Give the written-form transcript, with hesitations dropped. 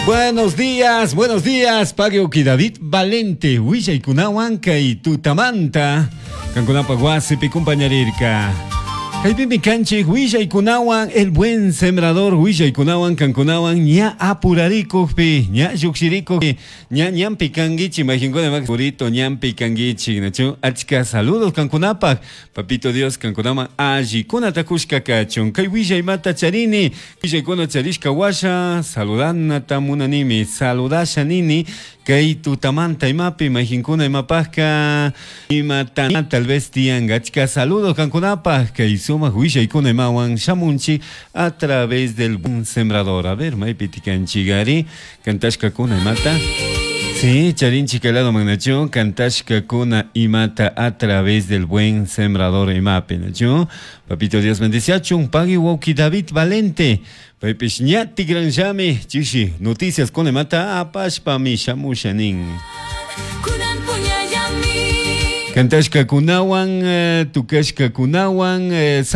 Buenos días, Pagioki David Valente, willaykunawan kay tutamanta, kankunapaj wasipi kumpañarirka. Kaypimi kanchik willaykunawan, el buen sembrador willaykunawan kankunawan ña apurarikukpi, ña llukshirikukpi, ña ñanpi kankichik, mayqinkuna purito ñanpi kankichik, nachu? Achka saludos kankunapaj, papito Dios kankunaman allikunata kushka kachun. Kay willaymata charini, willaykuna charishka washa, saludanata munanimi, saludasha nini, kay tutamanta imapi, mayqinkuna imapajka, imata tal vez tiyan, achka saludos kankunapaj, kay sumaq willaykuna imawan shamunchik a través del buen sembrador. A ver, maypi tikanchik cantashkakuna imata. Sí, charinchik lado manachu, cantashkakuna imata a través del buen sembrador imapi, nachu. Papito Dios bendiciachun, pagui wauki David Valente. Paypish ña tikranllami, chishi, noticias con imata apashpami shamusha nin. Kunan puñallami. Cantashkakunawan, tukashkakunawan.